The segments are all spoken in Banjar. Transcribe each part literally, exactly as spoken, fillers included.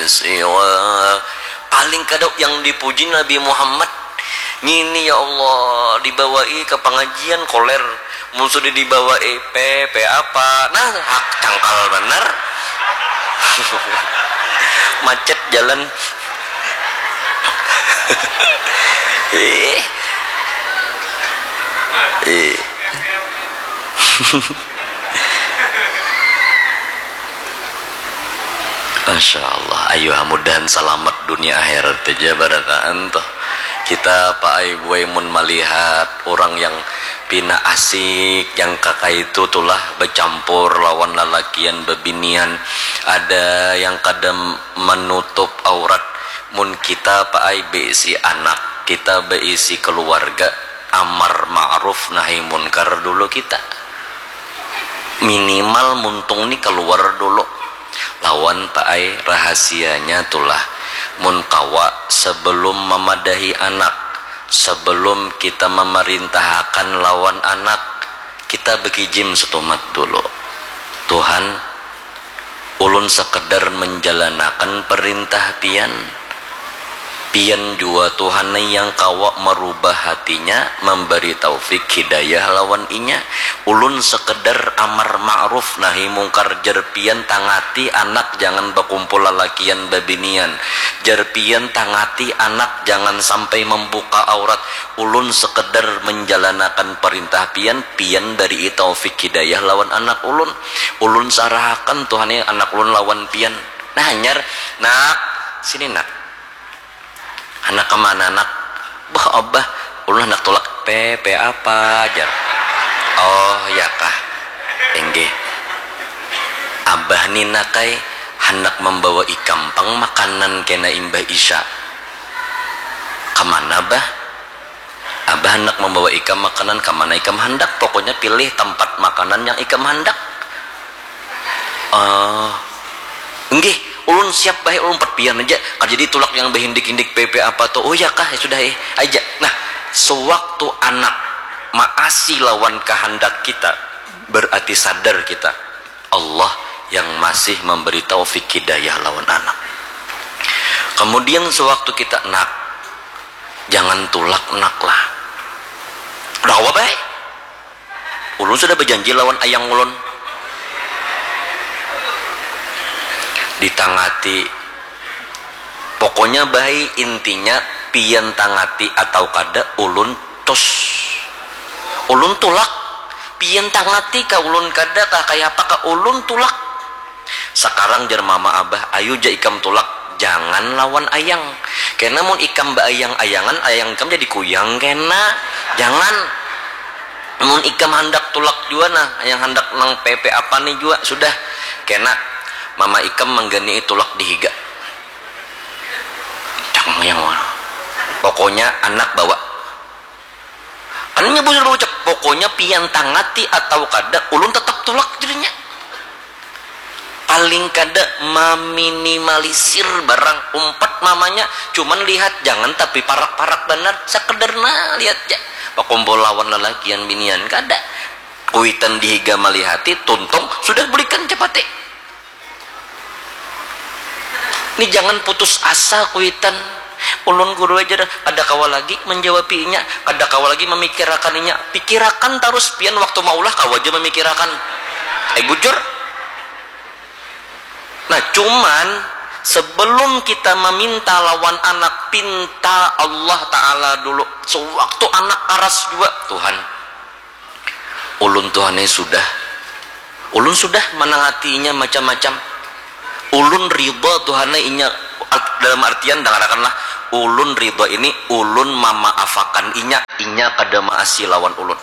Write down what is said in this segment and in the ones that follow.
siwa. Paling kada yang dipuji Nabi Muhammad. Ngini ya Allah, dibawai ke pengajian koler. Mun sudah dibawai P P apa? Nah, hak cangkal benar. Macet jalan. Eh. Eh. Masya Allah, ayo mudahan salamat dunia akhirat aja barataan tuh. Kita paai buai mun malihat orang yang pina asik, yang kakaitu tulah bacampur lawan lalakian babinian, ada yang kada menutup aurat. Mun kita paai beisi anak, kita beisi keluarga, amar ma'ruf nahi munkar dulu kita. Minimal muntung ni keluar dulu. Lawan paai rahasianya tulah. Mun kawa, sebelum memadahi anak, sebelum kita memarintahakan lawan anak, kita bekijim setumat dulu. Tuhan, ulun sekedar menjalanakan perintah pian. Pian jua Tuhan ai yang kawa merubah hatinya, memberi taufik hidayah lawan inya. Ulun sekedar amar ma'ruf nahi mungkar, jar pian tangati anak jangan bakumpul lalakian babinian, jar pian tangati anak jangan sampai membuka aurat. Ulun sekedar menjalanakan perintah pian, pian bari taufik hidayah lawan anak ulun. Ulun sarahakan Tuhan ai anak ulun lawan pian. Nah, hanyar, nak, sini nak. Handak kemana nak? Bah abah, ulun handak tulak. P P apa? Jar. Oh ya kah. Inggih. Abah ni nak ai handak membawa ikam pang makanan kena imbah isya. Kemana bah? Abah handak membawa ikam makanan kemana ikam handak, pokoknya pilih tempat makanan yang ikam handak. Oh, nggih, ulun siap baik, ulun empat pian aja. Kada jadi tulak yang behindik-hindik P P apa tuh. Oh ya kah, ya sudah eh, aja. Nah, sewaktu anak maasi lawan kehendak kita, berarti sadar kita Allah yang masih memberi taufik hidayah lawan anak. Kemudian sewaktu kita nak, jangan tulak nak lah. Udah apa baik? Ulun sudah berjanji lawan ayang ulun. Ditangati. Pokoknya baik intinya pian tangati atau kada ulun tus. Ulun tulak. Pian tangati ka ulun kada kah kaya apa ka ulun tulak. Sekarang jar mama abah, ayu ja ikam tulak, jangan lawan ayang. Kena mun ikam baayang-ayangan, ayang ikam jadi kuyang kena. Jangan. Mun ikam handak tulak jua nah, yang handak nang P P apa ni jua sudah. Kena mama ikam manggani'i tulak di higa. Cang yang mana? Pokoknya anak bawa. Kan inya bujur baucap, pokoknya pian tangati atau kada, ulun tetap tulak jadinya. Paling kada meminimalisir barang umpat mamanya, cuman lihat jangan tapi parak-parak banar, sekedar nah lihat ja. Bakumpul lawan lalakian binian kada. Kuitan dihiga malihati, tuntung sudah bulikan capati. Ni jangan putus asa kuitan. Ulun guru aja dah, kada kawa lagi menjawabi inya, kada kawa lagi memikirakan inya. Pikirakan tarus pian waktu maulah kawa aja memikirakan. Eh bujur. Nah cuman sebelum kita meminta lawan anak, pinta Allah Ta'ala dulu. Sewaktu anak aras jua, Tuhan, ulun tuh aneh sudah, ulun sudah manangatinya macam-macam. Ulun ridha tuh aneh inya, dalam artian dangarakanlah, ulun ridha ini ulun mamaafakan inya, inya kada maasi lawan ulun.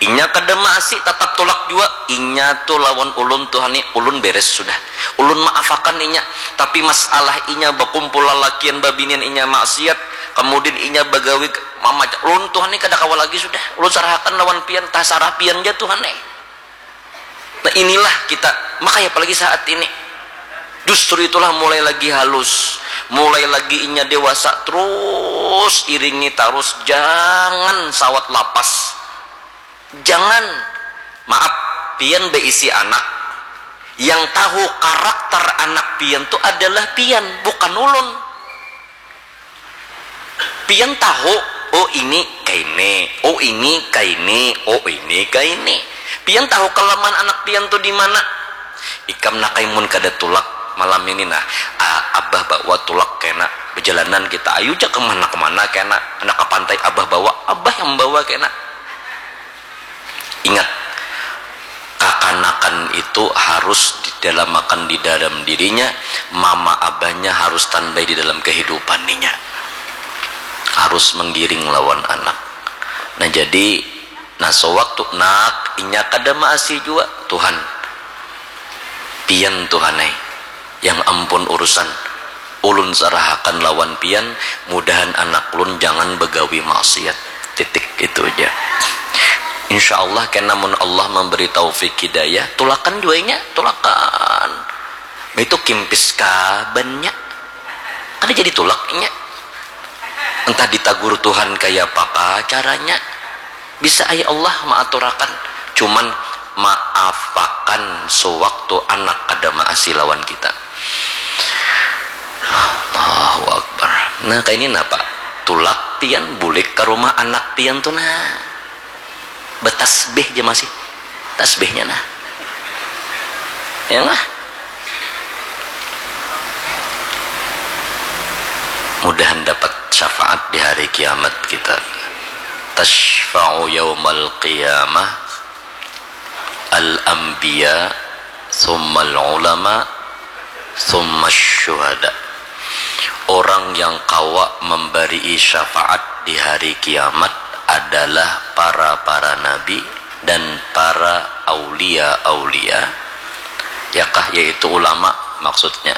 Inya kada maasi tatap tulak jua, inya tu lawan ulun tuh aneh, ulun beres sudah. Ulun maafakan inya, tapi masalah inya bakumpul lalakian babinian inya maksiat, kemudian inya bagawi mama, ulun tuhan ni kada kawa lagi sudah, ulun sarahakan lawan pian, tasarah pian ja tuhan eh. Nah inilah kita, makanya apalagi saat ini justru itulah mulai lagi halus, mulai lagi inya dewasa, terus iringi tarus, jangan sawat lapas, jangan, maaf, pian beisi anak, Yang tahu karakter anak pian tu adalah pian, bukan ulun. Pian tahu, oh ini kaini, oh ini kaini, oh ini kaini. Pian tahu kelemahan anak pian tu di mana. Ikam nak mun kada tulak malam ini nah, ah, abah bawa tulak kena, berjalanan kita, ayu ja kemana-kemana kena, nak ke pantai abah bawa, abah yang bawa kena. Ingat, kakanakan itu harus didalamakan di dalam dirinya, mama abahnya harus standby di dalam kehidupan ninya. Harus menggiring lawan anak. Nah, jadi, nah, sewaktu nak inya kada maasi jua, Tuhan, pian Tuhan ai, yang ampun urusan. Ulun sarahakan lawan pian, mudahan anak ulun jangan begawi maksiat. Titik, itu aja. Insya Allah kena mun Allah memberi taufik hidayah, tulakan jua inya, tulakan. Itu kimpis kabannya. Kada jadi tulak inya. Entah ditagur Tuhan kaya apa caranya. Bisa ai Allah maaturakan. Cuman maafakan sewaktu anak kada maasi lawan kita. Allahu Akbar. Nah, kaini napa? Tulak pian bulik ke rumah anak pian tu nah. Betasbih ja masih. Tasbihnya nah. Ya lah. Mudahan dapat syafaat di hari kiamat kita. Tasyfa'u yaumal qiyamah al-anbiya, summal ulama, summa syuhada. Orang yang kawa memberi syafaat di hari kiamat adalah para-para nabi dan para aulia-aulia, yakah, yaitu ulama maksudnya.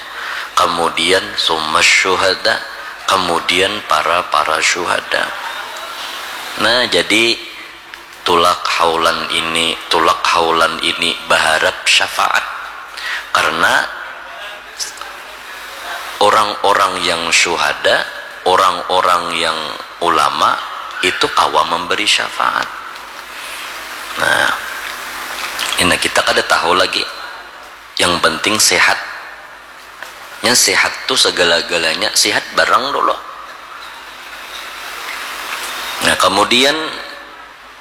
Kemudian summa syuhada, kemudian para-para syuhada. Nah, jadi tulak haulan ini, tulak haulan ini baharap syafaat. Karena orang-orang yang syuhada, orang-orang yang ulama itu kawa memberi syafaat. Nah, ini kita kada tahu lagi. Yang penting sehat. Nya sehat tu segala-galanya, sehat barang dulu. Nah, kemudian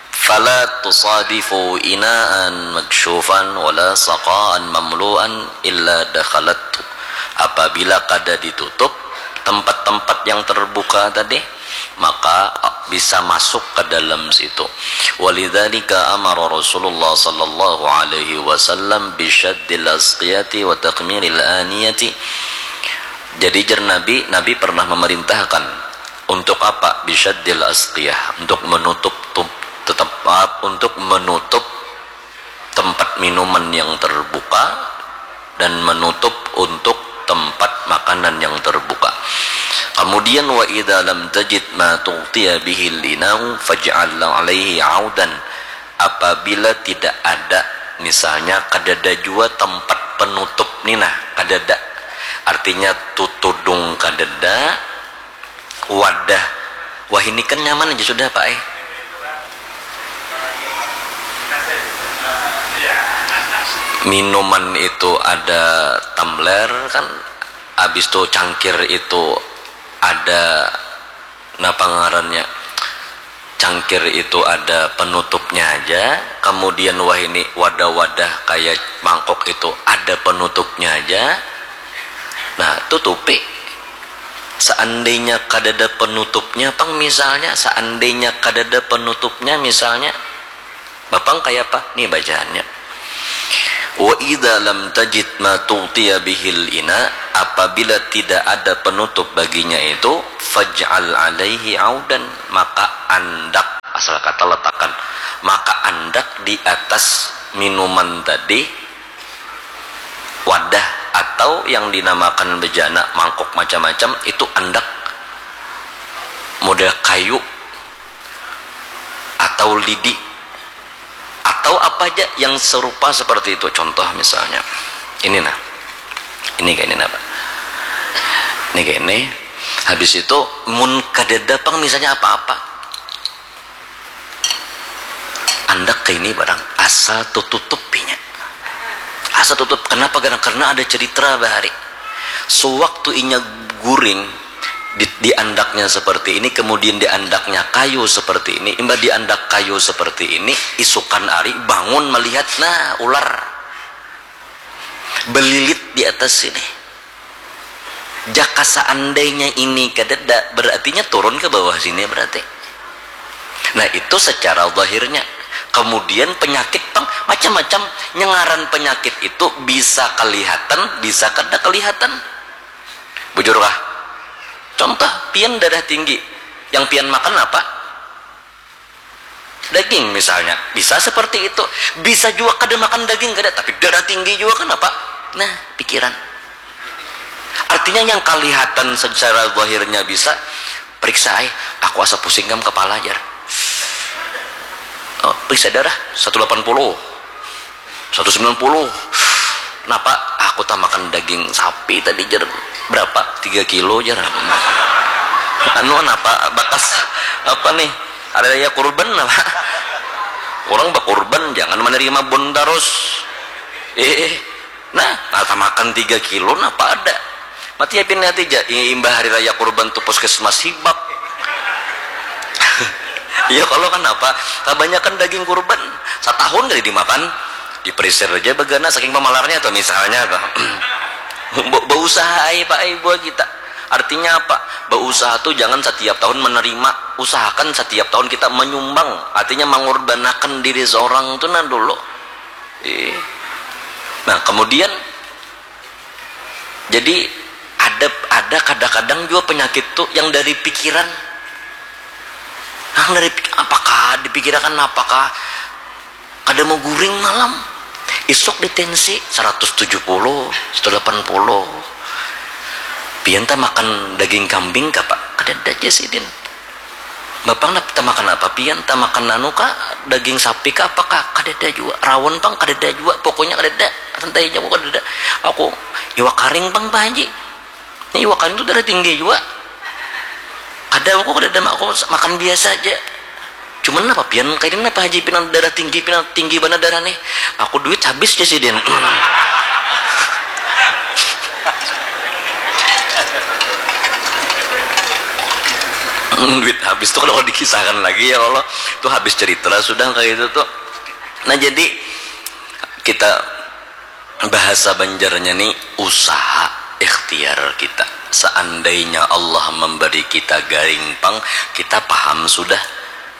fala tusadifu inaan maksyufan wala saqaan mamluan illa dakhalathu. Apabila kada ditutup tempat-tempat yang terbuka tadi, maka bisa masuk ke dalam situ. Walidzalika amara Rasulullah sallallahu alaihi wasallam bisyaddil asqiyati wa takmilil aniyati. Jadi, jer Nabi, Nabi pernah memerintahkan untuk apa? Bisyaddil asqiyah, untuk menutup tum- tetap, maaf, untuk menutup tempat minuman yang terbuka dan menutup untuk tempat makanan yang terbuka. Kemudian, wa idza lam tajid ma tughtiya bihil inau faj'al alaihi audan. Apabila tidak ada, misalnya kadada jua tempat penutup ni nah, kadada. Artinya tutudung kadada, wadah. Wah, ini kan nyaman aja sudah, Pak, eh. Minuman itu ada tumbler kan, habis itu cangkir itu ada, napa ngarannya, cangkir itu ada penutupnya aja, kemudian wah ini wadah-wadah kayak mangkok itu ada penutupnya aja. Nah, tutupi. Seandainya kadada penutupnya, pang, misalnya, seandainya kadada penutupnya, misalnya, bapang kaya apa? Nih bacaannya. Wa idza lam tajid ma tughtiya bihil ina, apabila tidak ada penutup baginya itu, faj'al alaihi audan, maka andak, asal kata letakkan, maka andak di atas minuman tadi, wadah atau yang dinamakan bejana, mangkuk, macam-macam, itu andak model kayu atau lidi atau apa aja yang serupa seperti itu. Contoh misalnya, ini nah, ini kayak ini nah, Pak. Ini kayak ini. Habis itu, mun kadada pang misalnya apa-apa, andak ke ini barang, asal tututupinya, asal tutup Kenapa? Karena ada cerita bahari. Sewaktu inya guring, di, diandaknya seperti ini, kemudian diandaknya kayu seperti ini, imbah diandak kayu seperti ini, isukan ari bangun melihat, nah, ular belilit di atas sini. Jaka seandainya ini kadada, berartinya turun ke bawah sini berarti. Nah, itu secara zahirnya. Kemudian penyakit pang macam-macam. Nyengaran penyakit itu bisa kelihatan, bisa kada kelihatan. Bujur kah? Contoh, pian darah tinggi. Yang pian makan apa? Daging misalnya. Bisa seperti itu. Bisa juga kada makan daging, kada, tapi darah tinggi juga kan apa? Nah, pikiran. Artinya yang kelihatan secara zahirnya bisa, periksa ai, aku asa pusing kam kepala, jar. Oh, periksa darah, satu delapan puluh, satu sembilan puluh. Napa? Aku tak makan daging sapi tadi, jar. Berapa? Tiga kilo, jar. Anu, napa? Bakas apa nih? Hari raya kurban apa? Orang bakurban, jangan menerima bon terus. Eh, nah, nata makan tiga kilo, napa ada? Mati ya, pin hati ja, i-, imbah hari raya kurban tu puskesmas hibak. Iya, kalau kan apa? Kebanyakan daging kurban, satahun kali dimakan, diperisir aja bagana saking pemalarnya tuh misalnya tuh. Be-, beusaha ai, Pak, ai, buat kita. Artinya apa? Beusaha tuh jangan setiap tahun menerima, usahakan setiap tahun kita menyumbang, artinya mengorbanakan diri seorang tuh nah dulu. Iya. Nah, kemudian jadi ada, ada kadang-kadang juga penyakit tuh yang dari pikiran. Nah, dari pik-, apakah dipikirakan, apakah kada mau guring malam? Isuk di tensi seratus tujuh puluh, seratus delapan puluh. Pian tak makan daging kambing kah, Pak? Kada ada aja sidin. Bapak nap-, tamakan apa pian? Tamakan anu kah? Daging sapi kah? Apa kah? Kadada jua. Rawon pang kadada jua. Pokoknya kadada. Santai aja, aku kadada. Aku iwak karing pang, Pak Haji. Ini iwak karing tu darah tinggi jua. Kada, aku kadada, aku makan biasa aja. Cuman napa pian kaini, napa Haji, pina darah tinggi, pina tinggi banar darah nih. Aku duit habis ja sidin. Duit habis tuh kalau dikisahkan lagi, ya Allah. Tuh habis cerita sudah kayak itu tuh. Nah, jadi kita bahasa Banjarnya nih usaha ikhtiar kita. Seandainya Allah memberi kita garing pang, kita paham sudah.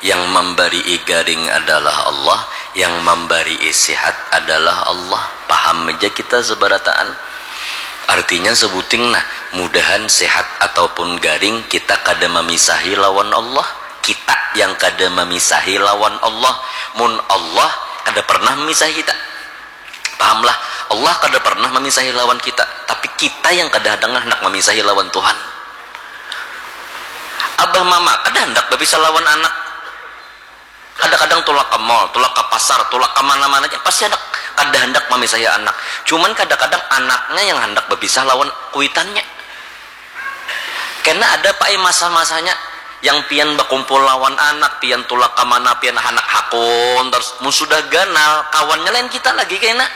Yang memberi garing adalah Allah, yang memberi sehat adalah Allah. Paham aja kita seberataan. Artinya sebuting nah, mudahan sehat ataupun garing kita kada memisahi lawan Allah. Kita yang kada memisahi lawan Allah. Mun Allah kada pernah memisahi kita. Pahamlah, Allah kada pernah memisahi lawan kita, tapi kita yang kada handak handak memisahi lawan Tuhan. Abah mama kada handak bapisah lawan anak. Kadang-kadang tulak ke mall, tulak ke pasar, tulak ke mana-mana aja, pasti handak, kada handak memisahi anak. Cuman kadang-kadang anaknya yang handak bapisah lawan kuitannya. Kena ada, Pak, ai, masa-masanya yang pian bakumpul lawan anak, pian tulak ka mana, pian handak hakun tarus. Mun sudah ganal, kawannya lain kita lagi kena.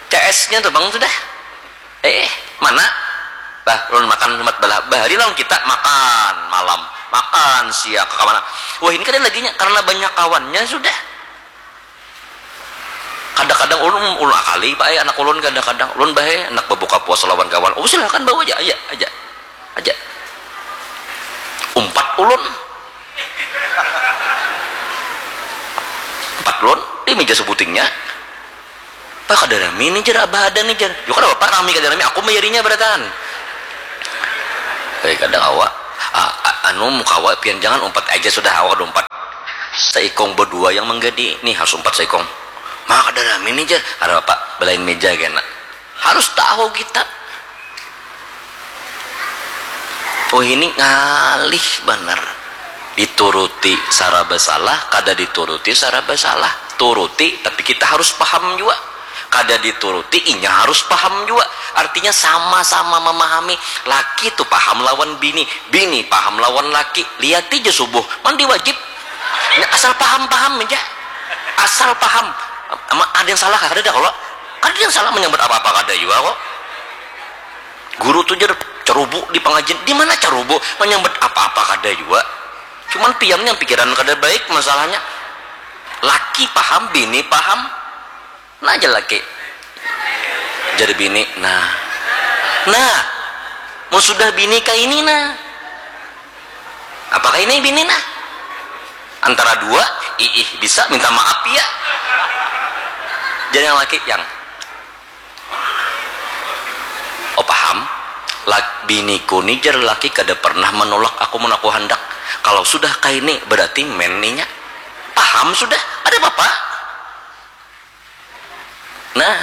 C S-nya tuh, Bang, sudah. Eh, mana? Bah, ulun makan umpat balah. Bahari lawan kita makan malam, makan siang, ka mana. Wah, ini kada laginya, karena banyak kawannya sudah. Kadang-kadang ulun, ulun akali, Pak, ai, anak ulun kadang-kadang. Ulun bae, handak babuka puasa lawan kawan. Oh, silakan bawa aja, aja, aja. Aja. Umpat ulun. Umpat ulun, di meja sebutingnya. Pak, kada rami nih, jar, Abah ada nih, jar. Yo, kada apa-apa, rami kada rami, aku mayarinya barataan. Eh, kada kawa. Ah, a-, anu, mun kawa, pian jangan umpat aja sudah, awak kada umpat. Saikung badua yang manggadi, nih harus umpat saikung. Ma, kada rami nih, jar. Kada apa-apa, balain meja kena. Harus tahu kita. Oh, ini ngalih banar. Dituruti saraba salah, kada dituruti saraba salah. Turuti, tapi kita harus paham jua. Kada dituruti, inya harus paham jua. Artinya sama-sama mamahami. Laki tu paham lawan bini, bini paham lawan laki. Liati ja subuh, mandi wajib. Nya asal paham-paham ja. Asal paham. Ama-, ada yang salah kah? Kadada kalo. Kada yang salah menyambut apa-apa kada juga kok. Guru tuh jadi cerubu di pengajian. Di mana cerubu? Menyambut apa-apa kada juga. Cuman pian yang pikiran kada baik masalahnya. Laki paham, bini paham. Nah aja laki. Jadi bini, nah. Nah, mau sudah bini kayak ini nah. Apakah ini bini nah? Antara dua, iih bisa minta maaf ya. Jadi yang laki yang Oh paham? Lak, biniku ni jar laki kada pernah menolak aku mun aku handak. Kalau sudah kaini berarti men ninya. Paham sudah? Ada apa-apa? Nah,